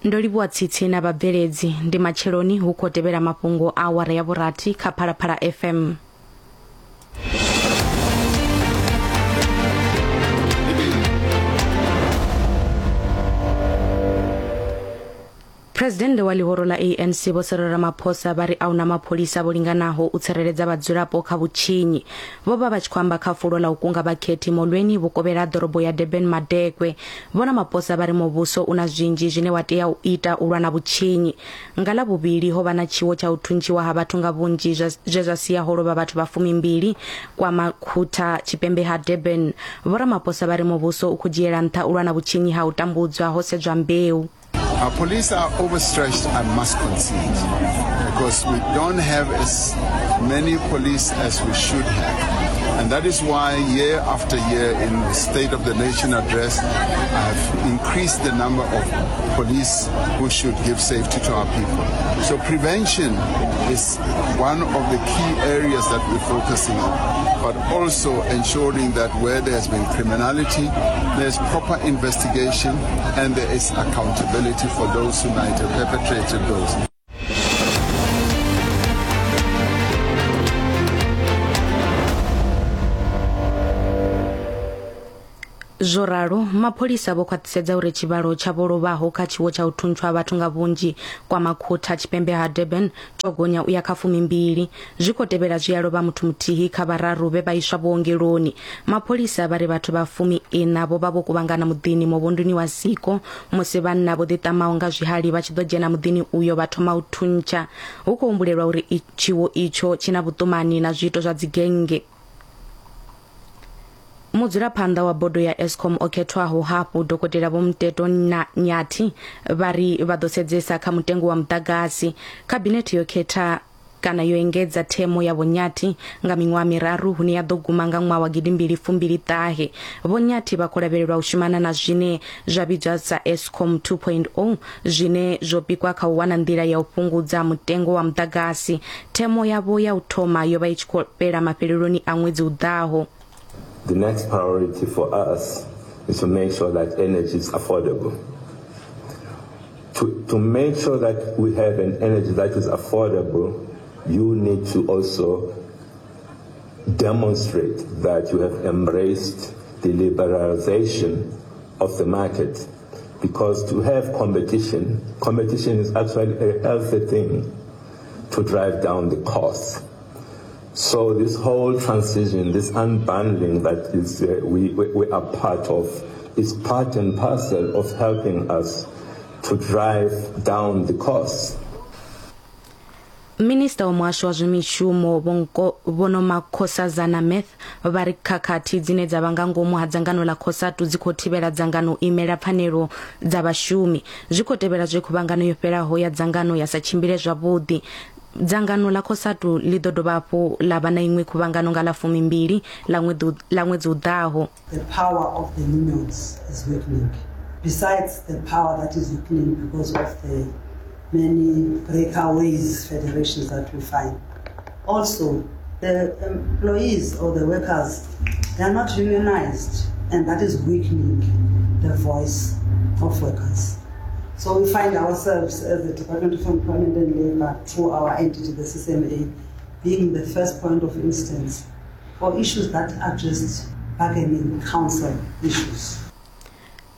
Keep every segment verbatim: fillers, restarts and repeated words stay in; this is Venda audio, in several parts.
Ndo livhuwa tsitsi na vhabveledzi. Ndi matsheloni hu khou tevhela mafhungo a awara ya vhurathi kha Phalaphala F M. Presidennde wa ḽihoro ḽa A N C Vho Cyril Ramaphosa vha ri a huna mapholisa vho linganaho u tsireledza vhadzulapo kha vhutshinyi. Vho vha vha tshi khou amba kha fulo ḽa u kunga vhakhethi Molweni vhukovhela ḓorobo ya Durban Madekwe. Vho Ramaphosa vha ri muvhuso u na zwinzhi zwine wa tea u ita u lwa na vhutshinyi. Nga ḽa vhuvhili ho vha na tshiwo tsha u thuntshiwa ha vhathu nga vhunzhi zwe zwa sia ho lovha vhathu vha fumimbili kwa Makhutha tshipembe ha Durban. Vho Ramaphosa vha ri muvhuso u khou dzhiela nṱha u lwa na vhutshinyi ha u tambudzwa ho sedzwa mbeu. Our police are overstretched, I must concede, because we don't have as many police as we should have. And that is why year after year in the State of the Nation address, I have increased the number of police who should give safety to our people. So prevention is one of the key areas that we're focusing on, but also ensuring that where there has been criminality, there's proper investigation and there is accountability for those who might have perpetrated those. Zwo ralo, mapholisa vho khwaṱhisedza uri tshivhalo tsha vho lovhaho kha tshiwo tsha u thuntswa vhathu nga vhunzhi kwa Makhutha tshipembe ha Durban tsho gonya u ya kha fumimbili. Zwi khou tevhela zwi a lovha muthu muthihi kha vhararu vhe vha iswa vhuongeloni. Mapholisa vha ri vhathu vha fumi ina vho vha vho kuvhangana muḓini muvhunduni wa Siko musi vhanna vho ḓiṱamaho nga zwihali vha tshi ḓo dzhena muḓini uyo vha thoma u thuntsha. Hu khou humbulelwa uri tshiwo itsho tshi na vhuṱumani na zwiito zwa dzigennge. Mudzulaphanḓa wa bodo ya Eskom o khethwaho hafhu Dokotela Vho Mteto Nyathi vha ri vha ḓo sedzesa kha mutengo wa muḓagasi. Khabinethe yo khetha kana yo engedza themo ya Vho Nyathi nga miṅwaha miraru hune ya ḓo guma nga ṅwaha wa gidimbili fumbili ṱahe. Vho Nyathi vha khou lavhelelwa u shumana na zwine zwa vhidzwa sa Eskom two point oh zwine zwo pikwa kha u wana nḓila ya u fhungudza mutengo wa muḓagasi. Themo yavho ya u thoma yo vha i tshi khou fhela mafheleloni a ṅwedzi u ḓaho. The next priority for us is to make sure that energy is affordable. To, to make sure that we have an energy that is affordable, you need to also demonstrate that you have embraced the liberalization of the market. Because to have competition, competition is actually a healthy thing to drive down the costs. So this whole transition, this unbundling that is uh, we, we, we are part of, is part and parcel of helping us to drive down the costs. Minister wa muhasho wa zwa mishumo Vho Nomakhosazana Meth vha ri khakhathi dzine dza vha nga ngomu ha dzangano ḽa COSATU dzi khou thivhela dzangano u imela pfanelo dza vhashumi. Zwi khou tevhela zwe khuvhangano yo fhelaho ya dzangano ya sa tshimbile zwavhuḓi. Dzangano ḽa COSATU ḽi ḓo dovha hafhu ḽa vha na iṅwe khuvhangano nga ḽa fumimbili ḽa ṅwedzi u ḓaho. The power of the unions is weakening. Besides the power that is weakening because of the many breakaways federations that we find. Also, the employees or the workers, they are not unionized, and that is weakening the voice of workers. So we find ourselves as the Department of Employment and Labour, through our entity, the C C M A, being the first point of instance for issues that are just bargaining council issues.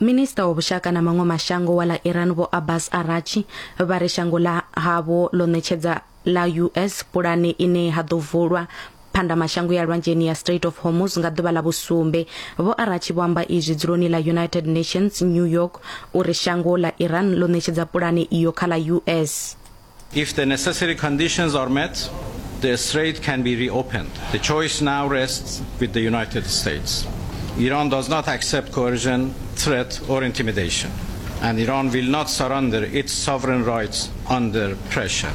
Minister wa vhushaka na maṅwe mashango wa ḽa Iran Vho Abbas Arachi vha ri shango ḽa havho ḽo ṋetshedza ḽa U S pulane ine ha ḓo vulwa phanda mashango ya lwanzheni ya Strait of Hormuz nga ḓuvha ḽa vhusumbe. Vho Arachi vho amba izwi dzuloni ḽa United Nations New York uri shango ḽa Iran ḽo ṋetshedza pulane iyo kha ḽa U S. If the necessary conditions are met, the strait can be reopened. The choice now rests with the United States. Iran does not accept coercion, threat or intimidation, and Iran will not surrender its sovereign rights under pressure.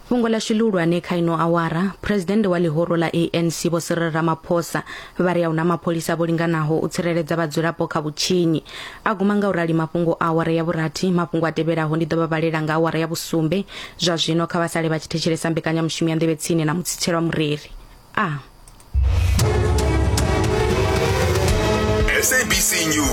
Fhungo ḽashu ḽihulwane kha ino awara, Presidennde wa ḽihoro ḽa A N C Vho Cyril Ramaphosa vha ri a huna mapholisa vho linganaho u tsireledza vhadzulapo kha vhutshinyi. A guma nga u rali mafhungo a awara ya vhurathi. Mafhungo a tevhelaho ndi ḓo vha vhalela nga awara ya vhusumbe. Zwa zwino kha vha sale vha tshi thetshelesa mbekanyamushumo ya Nḓevhe Tsini na Mutsitselwa Mureri. A S A B C News.